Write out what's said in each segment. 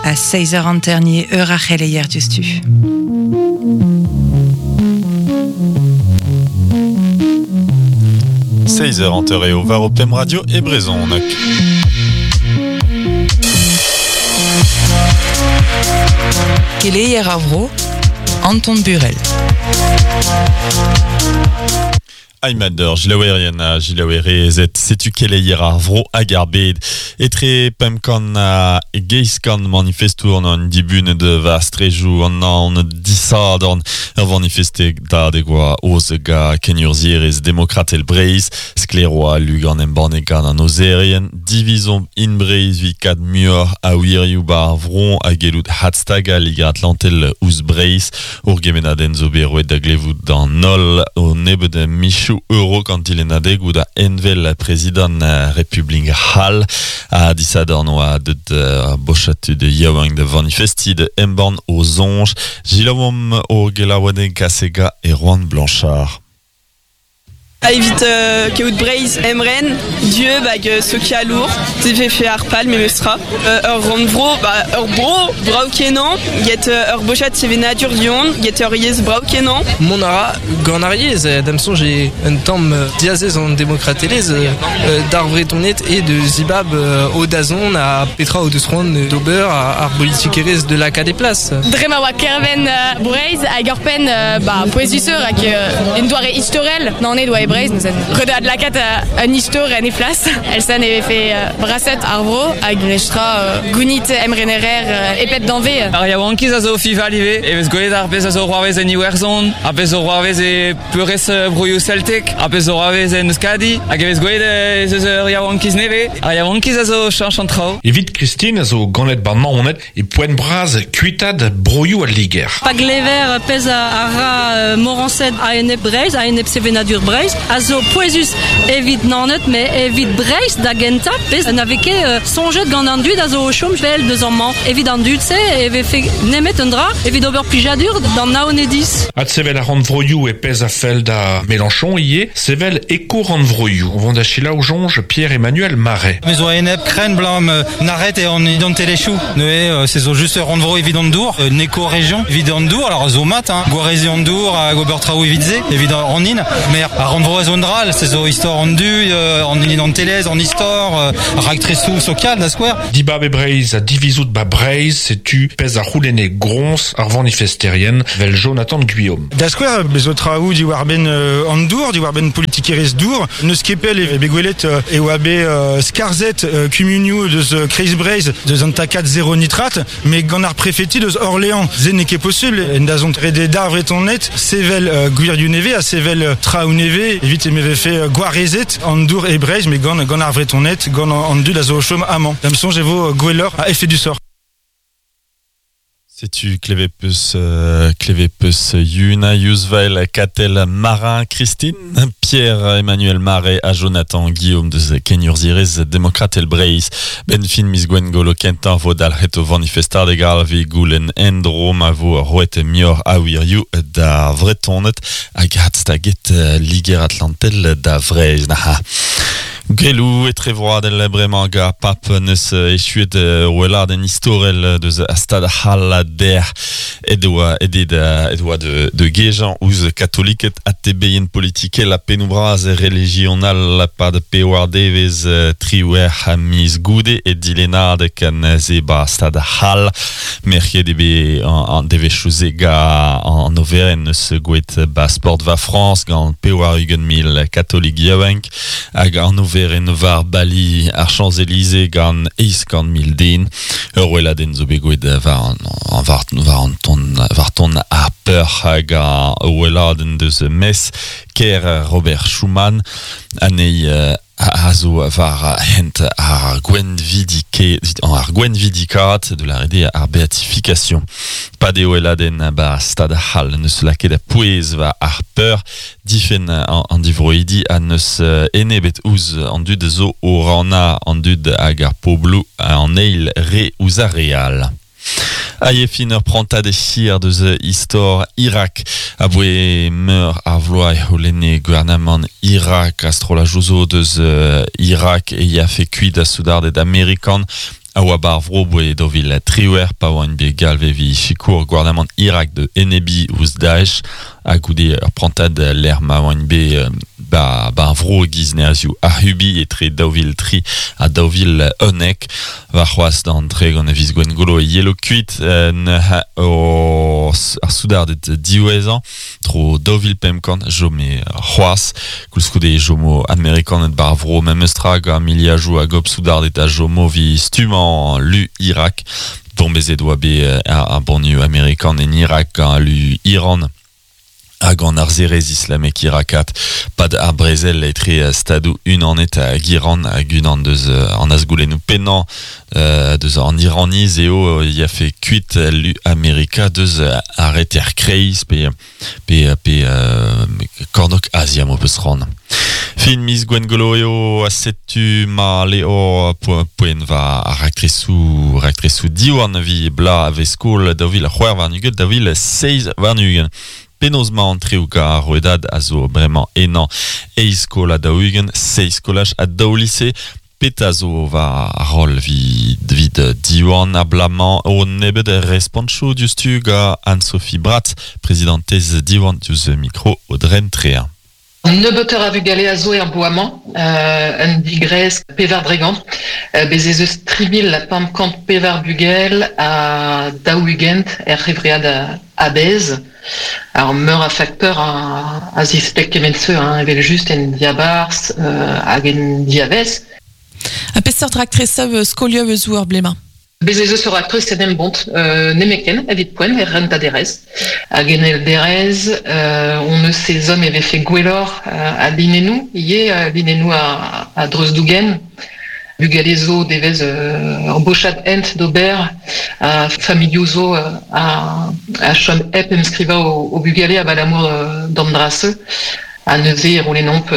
A 6 eur anternier eur ar c'heleier diouzhtu. Seizh eur hanter eo war ho pemp radio e brezhoneg. Keleier ar vro, Anton Burel. Aimader, jilaouerien ha jilaouerezed, setu keleier ar vro hag ar bed. Etre 500 ha 800 manifestour an dibunet war strejoù an Naoned disadorn. Ur vanifestadeg oa oz ga kenurzhierezh demokratel Breizh. Sklaer oa lugan embannet gant an ozerien. Divizomp in Breizh evit kad muioc'h a wirioù 'ba ar vro ha gellout hadstagañ Liger-Atlantel ouzh Breizh. Ur gemennadenn zo bet roet da glevout d'an holl o nebeud michoù a-raok an dilennadegoù da envel prezidant Republik C'hall. Ha disadorn oa deut ur bochad tud yaouank da vanifestiñ da embann o soñj. Selaouomp o gelaouenn Kasega Erwan Blanchard. Evit kaout Breizh emren, dieub hag sokialour, se vefe ar pal memestra. Ur rannvro, ba ur bro brav-kenañ, get ur bochad sevenadur du-hont, get ur yezh brav-kenañ. Mont a ra gant ar yezh, da'm soñj eo un tamm diazez an demokratelezh d'ar Vretoned eo da zibab o dazont ha petra o deus c'hoant d'ober ar bolitikerezh de lakaat e plas. Dre ma oa Kerven Breizh hag ur penn ba, pouezusoc'h hag un doare istorel Naoned oa e Breizh neuze. Ret eo adlakaat un istor en he flas. Elsa ne vefe braset ar vro hag nestra gounit emrenerer e pep danvez. Ar yaouankiz a zo fival ivez e vez gwelet ar pezh a zo c'hoarvez en Iwerzhon, ar pezh zo c'hoarvez e peurrest broioù celtek, ar pezh zo c'hoarvez en Euskadi, hag e vez gwelet ez eus ur yaouankiz nevez. Ar yaouankiz a zo cheñch an traoù. Evit Christine a zo ganet 'ba Naoned E poent bras kuitaat broioù al Liger. Pa glever pezh a ra Morañsed a-enep Breizh, a-enep sevenadur Breizh, a zo pouezus evit Naoned, met evit Breizh da gentañ, pezh na vez ket soñjet gant an dud a zo o chom pell deus amañ. Evit an dud-se e vefe nemet un dra evit ober plijadur d'an Naonediz. Adsevel ar rannvroioù e pezh a fell da Mélenchon ivez, sevel eko-rannvroioù. O vont da selaou soñj Pierre-Emmanuel Marais. Me zo a-enep krenn 'blam Naret eo an identelezhioù. Neuze, se zo just ur rannvro evit an dour, un éco-région evit an dour. Alors zo mat, hein, gwareziñ an dour hag ober traoù evit se, evit an hin. Mais ar rannvro a zo un dra all, se zo istor an du, an identelezh, an istor, raktresoù sokial da skouer. Dibab e Breizh ha divizout 'ba Breizh, setu pezh a c'houlenne groñs ar vanifesterien 'vel Jonathan Guillaume. Da skouer, bez zo traoù diwar-benn an dour, diwar-benn politikerezh dour. N'eus ket pell e bet gwelet e oa bet skarzhet kumunioù deus Kreiz-Breizh deus an takad zero nitrat, met gant ar prefeti deus Orléans, se n'eo ket posubl. En dazont ret eo d'ar Vretoned sevel gwirioù nevez ha sevel traoù nevez evit e vefe gwarezet an dour e Breizh, met gant, gant ar Vretoned, gant an dud a zo o chom amañ. Da'm soñj e vo gwelloc'h ha efedusoc'h. Setu klevet peus klevet peus Yuna Yuzvael, Katell Marin, Christine, Pierre-Emmanuel Marais ha Jonathan Guillaume deus kenurzhierezh demokratel Breizh. Benn fin miz Gwengolo kentañ vo dalc'het o vanifestadeg all evit goulenn en-dro ma vo roet muioc'h a wirioù d'ar Vretoned hag adstaget Liger-Atlantel da Vreizh. Gelou etrevroadel bremañ gant Pap neus echuet weladenn istorel deus stad c'hall dec'h ed oa ed ed oa de gejañ ouzh katoliked ha tebeien politikel ha pennoù bras relijional pad pewar devezh triwec'h miz goude e dilennadeg neuze ba stad c'hall merket eo bet an devezhioù-se gant an overenn eus gouet ba Sportva Frañs gant 80 000 katolik yaouank Hag an oferenn war bali ar Champs-Élysées gant 800 000 den. Ur weladenn zo bet gwelet war an, war, war an ton, war ton ar peur hag ar weladenn deus Metz, kêr Robert Schuman, anezhi a zo war hent ar gwenvidike, ar gwenvidikaat de la rede ar beatification. Pa deo eladenn ba stad c'hall neus lakaet pouez war ar peur Difenn an divroidi ha n'eus enebet ouzh an dud zo o rannañ an dud hag ar pobloù an eil re ouzh ar re all. Hag e fin ur prantad hir deus istor Irak. Aboe meur a vloaz e c'houlenne gouarnamant Irak ha strollajoù zo deus Irak e yafe kuit a soudarded amerikan. A oa bar vro boe dovil triwer pa oan bet galve vi sikour gouarnamant Irak de enebi ouz Daesh a goude ur prantad l'er ma oan bet ba vro giz nerzioù ahubi etre daouvil tri ha daouvil onek va c'hoaz d'an tre gant viz gwengolo e yelo kuit o ar soudardet diwezhañ tro daouvil pemp kant jome c'hoaz koulskoude jomo amerikanet bar vro memestra gant miliajoù hag op soudardet a jomo vi stumañ lu Irak bombezet oa bet ar banioù amerikan en Irak gant lu Iran hag an arzerez islamek irakat pad ar brezel etre stadoù unanet hag Iran hag unan deus an azgoulennoù pennañ deus an Iraniz eo ya fe kuit lu Amerika deus arreter kreiz pe kornok Azia mo peus ran. Fin miz Gwengolo eo a setu ma leo poent va ar raktresou diwan vi bla ave skol daouvil c'hwec'h warn-ugent daouvil seizh warn-ugent. Penaos ma an treo ga roedad a zo bremañ enañ eizh skol ha daou-ugent, seizh skolaj ha daou lise, peta zo va rol vid diwan a blamañ o nebet responchoù diouzhtu ga Anne-Sophie Brat, prezidentez Diwan diouzh mikro o dren trea. Nebeutoc'h a vugale a zo er bloaz-mañ, un digrez pevar dregant, bez ez eus 3 500 pevar bugel ha daou-ugent er c'hevread a-bezh. Ar meur a fakteur a zispleg kement-se, hein, evel just en diabarzh hag en diavez. A peseurt raktresoù skolioù eus ur blemañ? Bez ez eus ur raktres en embont nemeken evit poent er rentaderez. Hag en elderez, on eus sezom e vefe gwelloc'h a linennoù, ivez linennoù a dreuz-dougen. Bugale zo devez ur bochad hent d'ober a familhoù zo a chom hep emskrivañ o bugale abalamour d'an dra-se. A neuze e roulennomp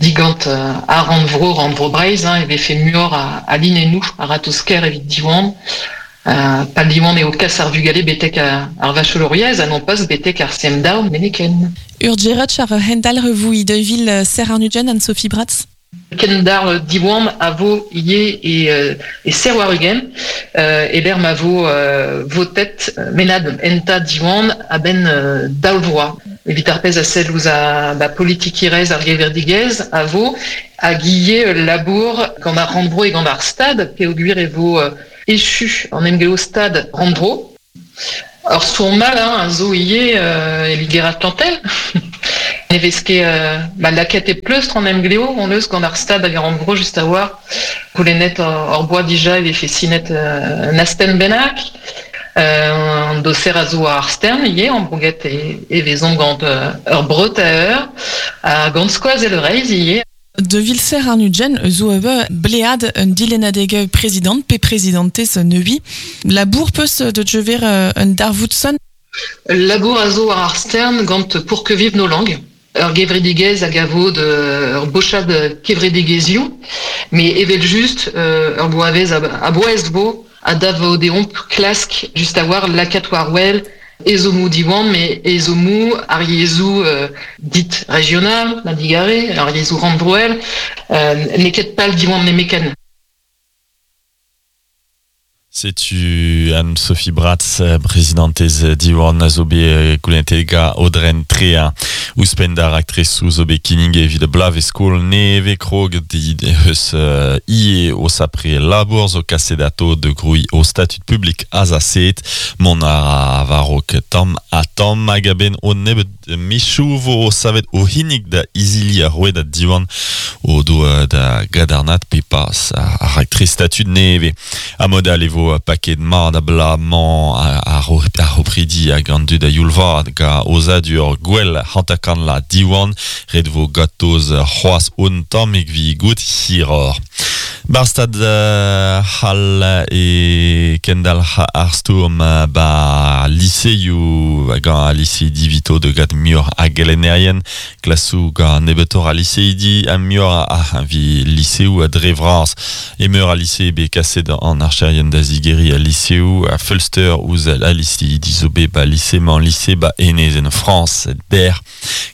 digant a rannvro Breizh, hein, e vefe muioc'h a linennoù a ratozh-kaer evit Diwan. Pal Diwan eo kas ar vugale betek ar vachelouriezh ha non pas betek ar CM2 meneken. Ur djerotch ar hendal revoui deuvil ser arnugen Anne-Sophie Bratz? Kendar Diwan a vo ivez e ser war-ugent, eber ma vo votet menad enta Diwan a-benn daou vloaz. Evit ar pezh a sell ouzh a politikerezh ar gevredigezh a vo hag ivez labour gant ar rannvro e gant ar stad peogwir e vo echu an emglev stad rannvro. Ur stourm all a zo ivez e Liger-Atlantel. Ne vez ket lakaet e pleustr an emglev on eus gant ar stad hag ar rannvro just a-walc'h. Goulennet hor boa dija e vefe sinet un astenn bennak. An doser a zo ar stern ivez, an brouget e vezomp gant ur breut a eur, ha gant skoazell Breizh ivez. De vilser ar nugen zo ebe blead un dilennadeg prezident pe prezidentez neui. Labour peus de jever un darvoudson? Labour a zo ar stern gant pour que vive nos langues. Ur gevredigezh hag a vo de ur bochad kevredigezhioù, mais evel just ur bloavezh a boez vo a dav deomp klask just a war lakaat war wel ezhommoù Diwan, mais ezhommoù ar yezhoù dit régional, ma digare, ar yezhoù rannvroel, n'eo ket pal Diwan nemeken. Setu Anne-Sophie Bratz, prezidentez Diwan a zo bet goulennet ga Audren Trea. Ouzhpenn d'ar raktresoù zo bet kinnig evit blavez skol neve krog eus ie o sapre labour zo kaset ato de grouilh o statut publik azaset mont a varok tamm ha tamm hag a-benn o nebet michou vo o savet o hinnig da izili ar roed da Diwan o do da gadarnat pe pas ar raktres statut neve. A modal e vo paket mat a bla-mañ ar opridi hag an dud a youlvad ga ozadur gwell hantakan la Diwan ret vo gatoz c'hoaz on tammig vi gout hiror. Barstad hal e kendal ar stourm ba liseioù gant a lycée divito de gad muioc'h a gelennerien klasou gant nebeutoc'h a lycéidi a muioc'h a vi lycéoù a dre vras e meur a lycée bet kaset an archerien da zigeri a lycéou a Fulster ouz a lycée dizobe ba lycée man lycée ba enez en France der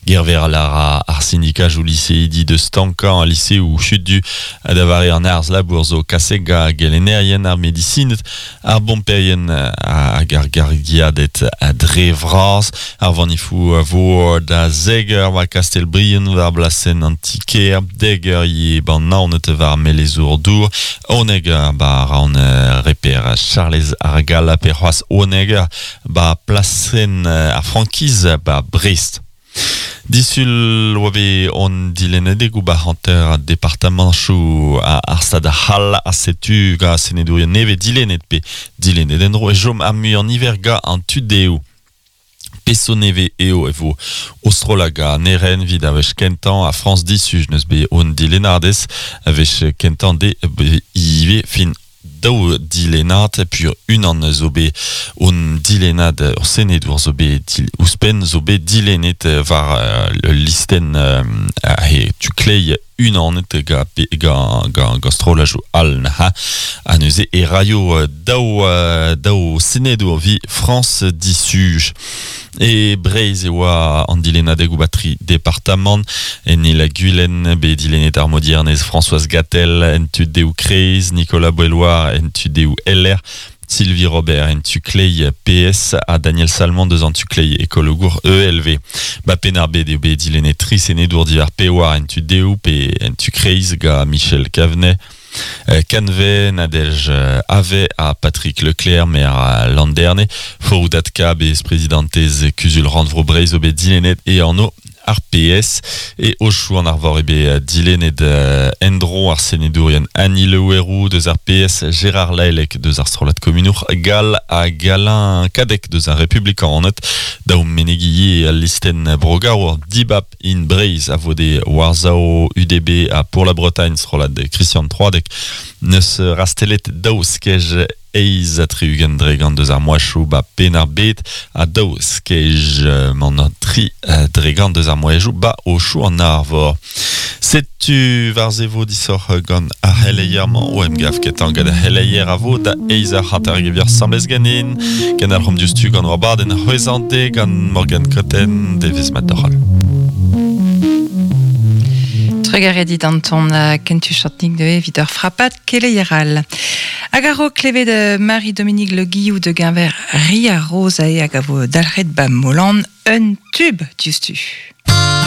gerver lara ar syndicat ou lycée di de Stankan a lycée ou chut du a davare an arz labour zo kasega gelenerien ar medicine ar bomperien a gargargiadet a dre vras ar vanifou a vo da zeger war Kastelbrien war blasen antiker deger ye ban naonet war melezour dour oneger ba raon reper Charles Argal pe c'hoaz oneger ba plasen a frankiz ba Brest. Disul oa on dilennadeg ba hanter departamanchoù a ar stad a c'hall a setu ga senedourien neve dilennet pe dilennet endro e jom ar muiañ niver ga an tudeo. Peso neve eo e vo Ostrolaga neren vid a wech kentan a France disuj neus be on dilennadez a wech kentan de ive fin daou dilennad pur unan zo bet on dilennad ur senedour zo bet ouzhpenn zo bet dilennet war listen he tu klei unanet ga ga ga ga strolajoù all ha a neuze e raio daou daou senedour vi France disuj. E Breizh e oa an dilennadeg ou batri departamant en il a Gulen be dilennet ar modiernez Françoise Gatel en tu deou Kreiz Nicolas Boiloir en tu deou LR Sylvie Robert en tu klei PS a Daniel Salmon deus an tu klei ekologour ELV. Ba penar bet eo bet dilennet tri senedour divar pewar en tu deou pe en tu kreiz ga Michel Cavenet Canvet, Nadège Ave a Patrick Leclerc, maire Landerne, Foroudatka, bez prezidentez Kuzul Randvro Breizh o bet dilennet e anno RPS e Ochou an arvor ebe dilennet endro ar senedourien Annie Le Houerou deus RPS, Gérard Laelec deus ar strollad komunour, Gal a Galin Kadek deus ar Republikan anot, daou menegi al listen brogarour Dibap in Breizh a vode Warzao UDB a Pour la Bretagne strollad Christian Troadec neus rastelet daou skej eiz a tri-ugent dregant deus ar moachoù ba penar bet a daou skej man tri dregant deus ar moachoù ba o chou an arvor. Setu war zevo disoc'h gant ar c'heleier-mañ o emgav ketan gant ar c'heleier a vo da eiz ar c'hanter gevier samblez ganin gant ar c'hom diouzhtu gant war baden c'hwezante gant Morgan Cotten devez mat doc'hal. Trugaredit Anton kentu chantnik de evit ur frapat keleieral. Hag ar klevet Marie-Dominique Le Guillou de Guinver Ria Rosa e hag a vo dalc'het ba Molan un tube diouzhtu.